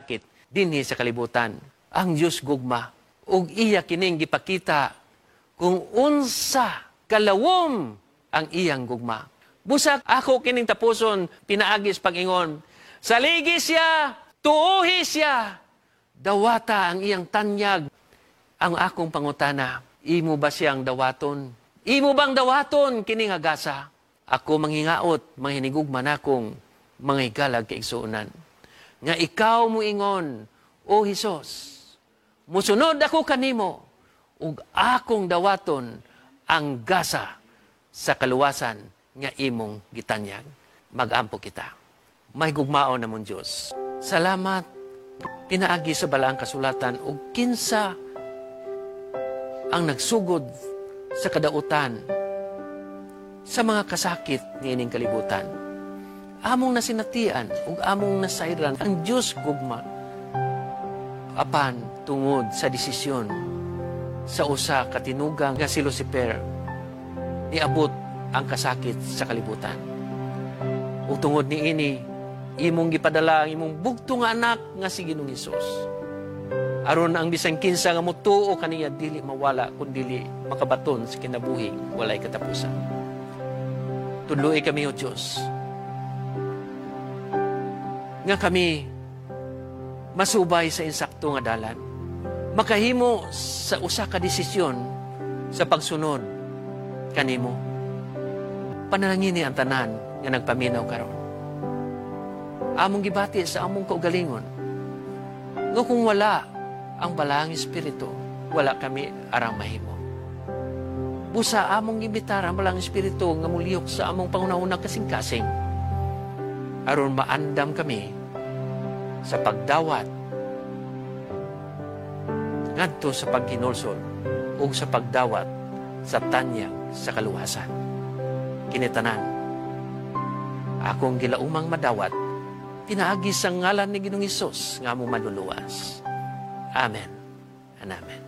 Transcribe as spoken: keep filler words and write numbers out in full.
kasakit dinhi sa kalibutan. Ang Dios gugma ug iya kining gipakita kung unsa kalawom ang iyang gugma. Busa ako kining tapuson pinaagi sa pag-ingon. Saligi siya, tuohi siya, dawata ang iyang tanyag. Ang akong pangutana, imo ba siyang dawaton? Imo bang dawaton kining gasa? Ako manghingaot, manghinigugma nakong mga higalag kaigsuonan. Nga ikaw muingon, O Hesus, musunod ako kanimo, ug akong dawaton ang gasa sa kaluwasan nga imong gitanyag. Magampo kita. Mahigugmaon namong Diyos. Salamat pinaagi sa balaang kasulatan ug kinsa ang nagsugod sa kadautan sa mga kasakit niining kalibutan. Among nasinatian ug among nasayran ang Dios gugma apan tungod sa desisyon sa usa ka tinugang nga si Lucifer niabot ang kasakit sa kalibutan. Ug tungod niini imong gipadala ang imong bugto nga anak nga si Ginoong Hesus. Aron ang bisan kinsa nga motuo kaniya dili mawala kun dili makabaton sa kinabuhing walay katapusan. Tudloi kami o Dios nga kami masubay sa insakto nga dalan. Makahimo sa usa ka desisyon sa pagsunod kanimo. Panalangini ang tanan nga nagpaminaw karon. Among gibati sa among kaugalingon nga kung wala ang balaang espiritu, wala kami arang mahimo. Busa among gimbitar ang balaang espiritu nga mulihok sa among panghunahuna kasing-kasing. Aron maandam kami sa pagdawat ngadto sa paghinulsol ug sa pagdawat sa tanyag sa kaluwasan. Kini tanan, akong gilaumang madawat, pinaagi sa ngalan ni Ginoong Hesus nga among manluluwas. Amen and amen.